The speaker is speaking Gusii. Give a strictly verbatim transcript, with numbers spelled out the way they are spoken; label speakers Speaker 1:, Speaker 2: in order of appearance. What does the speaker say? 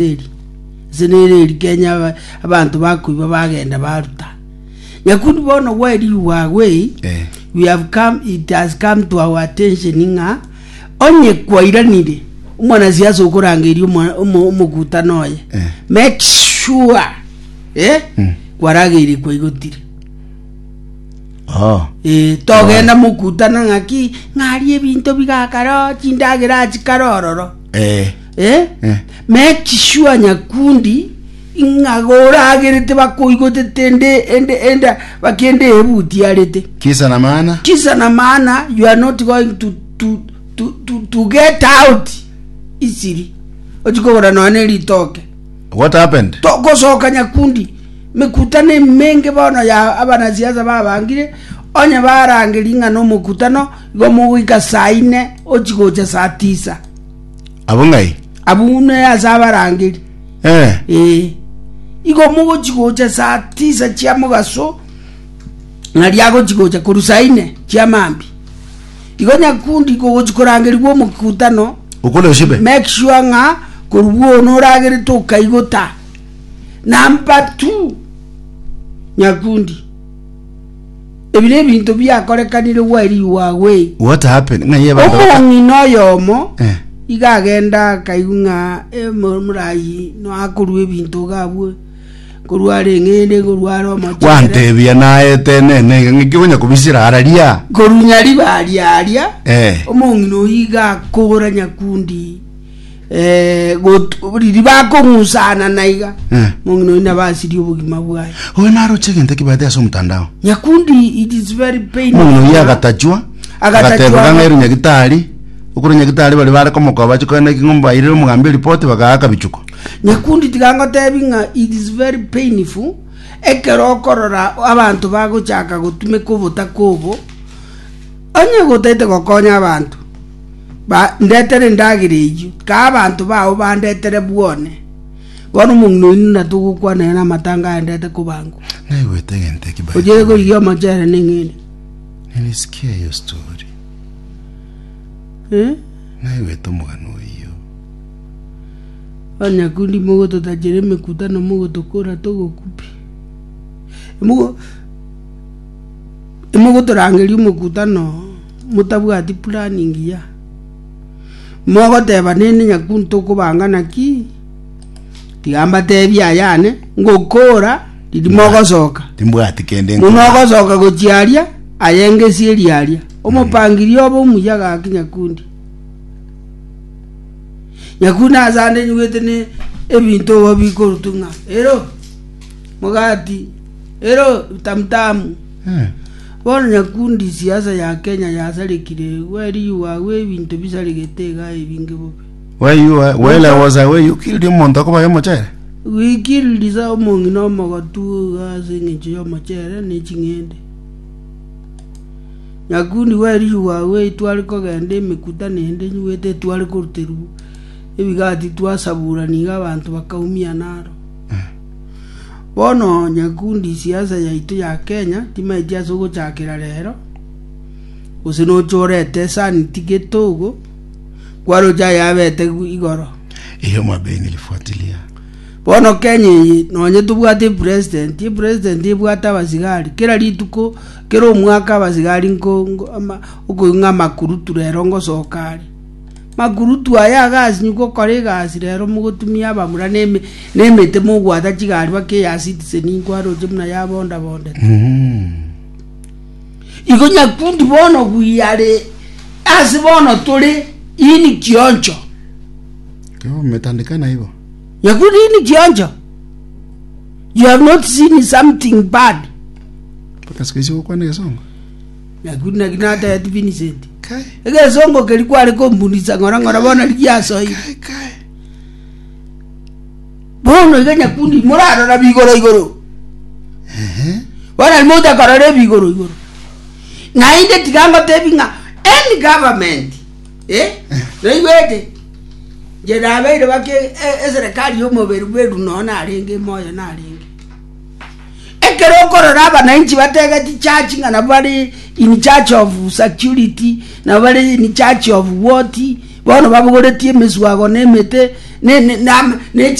Speaker 1: Eri ase nere eri Kenya aba- abanto bakoiba bagenda baruta. Nyakundi bono while you are away,
Speaker 2: Eh.
Speaker 1: we have come, it has come to our attention ng'a onye kwairanire omwanasiasa okorangeria omo- omo- omokutano oye
Speaker 2: Eh.
Speaker 1: make sure eh, kwarageire kwaigotire.
Speaker 2: Oh.
Speaker 1: Eh, togenda mokutana ng'aki ng'arie ebinto bigakaro chindagera chikare ororo.
Speaker 2: Eh.
Speaker 1: Eh?
Speaker 2: Eh.
Speaker 1: Make sure nyakundi ng'a goragerete bakoigotete ende ende enda bakende ebutiarete.
Speaker 2: Kisa na maana.
Speaker 1: Kisa na maana you are not going to, to, to, to, to get out easily ochikogora nonya na eritoke.
Speaker 2: What happened?
Speaker 1: Togosoka nyakundi mekutano emenge bono ya abanasiasa babangire onye barangeria ng'a na omokutano igo mogoika saa ine ochi gocha saa tisa.
Speaker 2: Abwo ng'ai?
Speaker 1: Abwo ne ase abarangeri.
Speaker 2: Eh.
Speaker 1: Ee. Igo mogochi gocha saa tisa chia mogaso ng'aria agochi gocha korwa saa ine chia mambia. Igo nyakundi kogochi korangerigwa omokutano
Speaker 2: Okore oshibe.
Speaker 1: make sure ng'a korwa bwono oragerete okaigota. Number two, nyakundi ebi nebinto biakorekanire while you were away.
Speaker 2: What happened? Ng'ai abanto baka-
Speaker 1: Omong'ina oyomo
Speaker 2: Eh.
Speaker 1: iga agenda akaigwa ng'a omorayi no akorua ebinto iga abwo korwa are eng'ende korwa are omochere.
Speaker 2: Gwantebia naete nene iga ng'aki okonya kobisira araria.
Speaker 1: Korwa nyaribari aria
Speaker 2: Eh.
Speaker 1: omong'ina oyio iga akora nyakundi eh, got- riria bakong'usana na iga
Speaker 2: Eh.
Speaker 1: omong'ina oyio nabo asirie obogima bwaye.
Speaker 2: Oyo naroche egento ekebate ase omotandao.
Speaker 1: Nyakundi it is very painful.
Speaker 2: Omong'ina oyio agatachwa
Speaker 1: Agatachwa.
Speaker 2: agatebeka ng'a ere nyagitari okoro nyagitari baria bare komokoba bache koenda eking'o mbairire omogambi eripoti bagaaka bichuko.
Speaker 1: Nyakundi tiga ngotebi ng'a it is very painful ekero okorora abanto bagochaka gotumeka obotaka obo onye gotaete gokonya abanto ba ndetere endagera eyio kaa abanto bao bandetere bwone bono omong'ina oyio na togokwana ere amatanga aendete kobangwa.
Speaker 2: Naigwete egento eki by the
Speaker 1: Ochire
Speaker 2: way.
Speaker 1: korigia omochere na eng'ende.
Speaker 2: Nilisikia hiyo story.
Speaker 1: Eh?
Speaker 2: Naigwete omogano oyio.
Speaker 1: Bono nyakundi mogototachera emekutano mogotokora togokupi. Mogo emogotorangeria omokutano motabwati plan engiya. Mogoteba nende nyakundi tokobanga naki, tiga mbatebie ayane, ngokora riria mogosoka.
Speaker 2: Timbwati kende
Speaker 1: Buna
Speaker 2: nkobanga.
Speaker 1: ogosoka gochia aria, aye ngesieri aria. Omopangiria obe omuya gaki nyakundi. Nyakundi ase ande nyugete ne ebinto obo bikorutwa ng'a ero mogati, ero tamtamu.
Speaker 2: Eh.
Speaker 1: Bono nyakundi siasa ya Kenya yasarekire where you are we ebinto bisaregete iga ebinge bobe.
Speaker 2: Where you are, while I was away, you killed omonto akobaye omochere.
Speaker 1: We killed sa omong'ina omogotu iga ase eng'encho y'omochere ne ching'ende. Nyakundi where you are we tware kogenda emekutano ende nyugete tware koruterwa ebigati twasaburana iga abanto bakaumia naro. Bono nyakundi siasa yaito ya Kenya timaeti ase ogochakera rero gose noche orete sanity gete ogo kwaroche ayabete igoro.
Speaker 2: Hiyo mabei nilifuatilia.
Speaker 1: Bono Kenya eye nonye tobwate epresident, epresident ebwate abasigari kera rituko kera omwaka abasigari nko nko ama okoigwa ng'a amakurutu rero ngosoka are. Makurutu aya agasinyu gokora egasi rero mogotumia abamura na eme na emete mogwata chigari baka eya citizen nkwaroche buna yabondabondete.
Speaker 2: Mm.
Speaker 1: Igo nyakundi bono we are ase bono tore ini kioncho.
Speaker 2: Kwa hivyo mmetandikana hivyo.
Speaker 1: Nyakundi ini kioncho. You have not seen something bad.
Speaker 2: Mpaka siku hizi gokwana egesongo.
Speaker 1: Nyakundi naki natebeti Vincent.
Speaker 2: Kai.
Speaker 1: Egesongo keri kware kombunisa ng'ora ng'ora bono rigiasoire.
Speaker 2: Kai kai.
Speaker 1: Bono iga nyakundi morarora bigoro igoro.
Speaker 2: Ehe.
Speaker 1: Bono ari motakorora ebigoro igoro. Naende tiga ngotebi ng'a any government eh naigwete nche nabeire bake e- eserikali ya omobere bweru nonya narenge moyo narenge. Ekero okorora abananchi bategeti church ng'a nabo bare in charge of security nabo bare in charge of what bono babogoretie emeswago na emete Ne ne ne ne